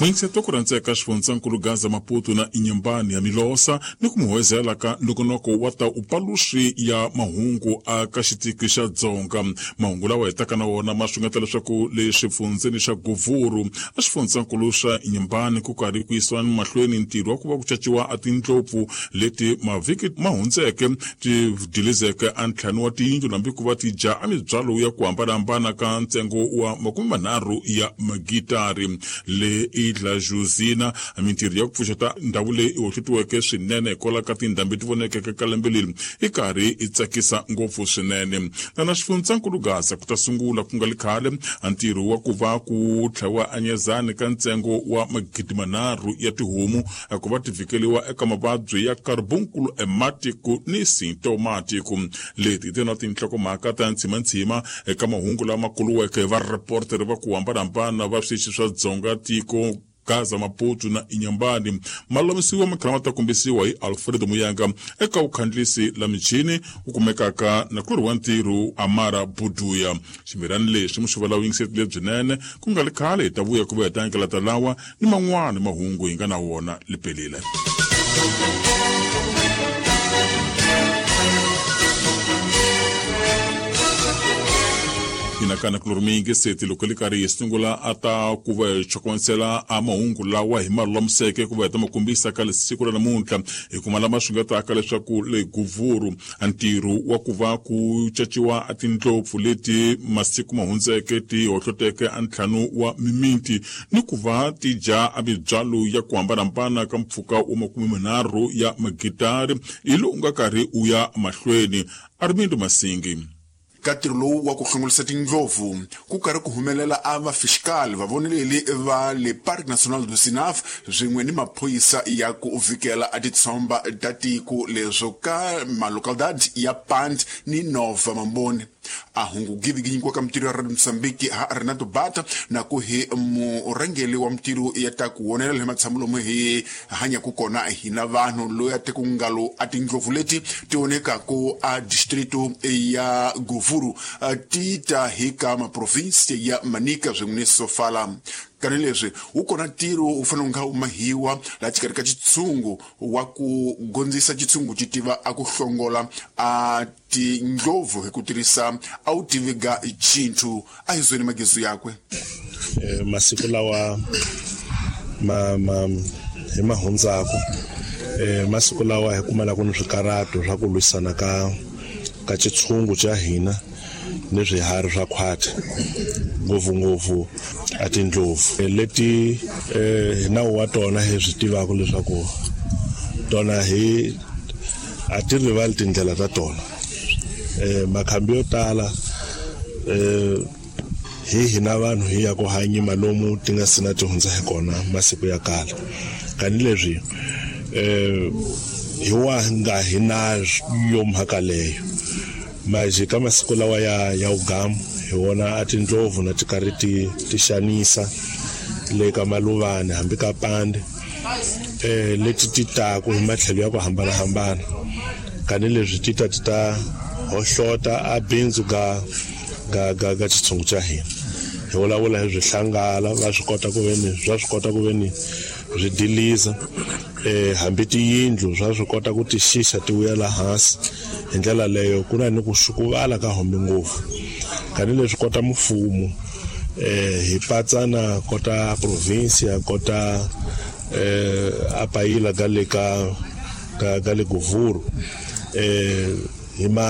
Mwingiseto ku rhandzeka xifundzankulu Gaza Maputo na Inhambane ya Milosa ni ku muhwezela ka nongonoko wa ta upaluxi ya mahungu aka xitiki xa Dzonga. Mahungu lawa hetaka na wona ma xungeta leswaku le xifundzeni xa Govuru a xifundzankulu xa Inhambane ku karhi ku yisiwa mahlweni ntirho wa ku va ku caciwa a tindlopfu leti mavhiki ma hundzeke ti dilizeke a ntlhanu wa tiyindlu hambi ku va ti dya a mibyalo ya ku hambanahambana ka ntsengo wa 30 ya magitari. Le Idla Josina mintirho ya ku pfuxeta ndhawu leyi hoxetiweke swinene hikwalaho ka tindhambi ti vonekeke ka lembe leri i karhi i tsakisa ngopfu swinene. Na xifundzankulu Gaza ku ta sungula ku nga li khale ntirho wa ku va ku tlhaviwa anyezani ka ntsengo wa 3,000 ya tihomu ku va ti vhikeliwa eka mavabyi ya carbunkulu ematiku ni sintomatiku. Leti ti na tinhlokomhaka ta ntshimantshima eka mahungu lama kuluweke hi vareporter va ku hambanahambana va switichi swa Dzonga tiko Gaza Maputo na Inhambane. Malamisiwa makhala ma ta kombisiwa hi Alfredo Muyanga eka vukhandlisi la michini wu kumekaka na ku ri wa ntirho Amara Buduya. Ximirani lexi muxuva la yingiseti lebyinene ku nga li khale hi ta vuya ku va hi ta nyikela lawa ni man'wana mahungu hi nga na wona lipelile. Inakana ku lori miyingiseti loko li karhi hi sungula a ta ku va hi chokomisela a mahungu lawa hi ma lulamiseke ku va hi ta ma kombisa ka siku ra namuntlha hi kuma lama swi nga taka leswaku le Govuru ntirho wa ku va ku caciwa a tindlopfu leti masiku ma hundzeke ti hohloteke a ntlhanu wa mimiti ni ku va ti dya a mibyalo ya ku hambanahambana ka mpfhuka wa 30 ya magitari hi lowu nga karhi u ya mahlweni. Armindo Masingi. Ka ntirho lowu wa ku hlongolisa tindlopfu ku karhi ku humelela a vafiskali vavoneleli va le Parc National du Zinaf swin'we ni maphorisa ya ku vhikela a titshomba ta tiko leswo ka malocalidad ya Pand ni Nova Mamboni. A hungu giviginyikiwa ka mintirho ya Radio Mozambique ha Renato Bata na ku hi murhangeri wa mintirho ya ta ku wonelela hi matshamo lomu hi hanyaku kona hina vanhu loyi a teku ngalo a tindlopfu leti ti onekaku a distrito ya Govuru ti ta hi ka maprovinsi ya Manica swin'we ni Sofala. Kani leswi wu kona ntirho wu fanele wu nga wu mahiwa laha xikarhi ka xitshungu wa ku gondzisa xitshungu xi tiva a ku hlongola a tindlopfu hi ku tirhisa a wu tiviga chinthu a hi zweni magezu yakwe. Masiku lawa ma ma hi mahundzaku masiku lawa hi kumalaka ni swikarhato swa ku lwisana ka ka xitshungu xa hina ni swiharhi swa khwati ngopfungopfu a tindlopfu leti hi nawu wa tona hi swi tivaka leswaku tona hi a ti rivali tindlela ta tona. Makhambi yo tala hi hina vanhu hi ya ku hanyima lomu ti nga sina ti hundza hi kona masiku ya kala. Kani leswi hi wa nga hi na yo mhaka leyo maji ka masiku lawa ya ugamu hi wona a tindlopfu na ti karhi ti xanisa le ka Maluvani hambi ka Pande leti ti taku hi matlhelo ya ku hambanahambana. Kani leswi ti ta ti ta hohlota a bindzu ga ga ga ga xitshungu xa hina. Hi vulavula hi swihlangala va swi kota ku veni swa swi kota ku veni swi diliza hambi tiyindlu swa swi kota ku ti xixa ti vuyela hansi. Hi ndlela leyo ku na ni ku xukuvala ka hombe ngopfu. Kani leswi kota mfumo hi patsana kota province kota a payila ka le ka ka le Govuru hi ma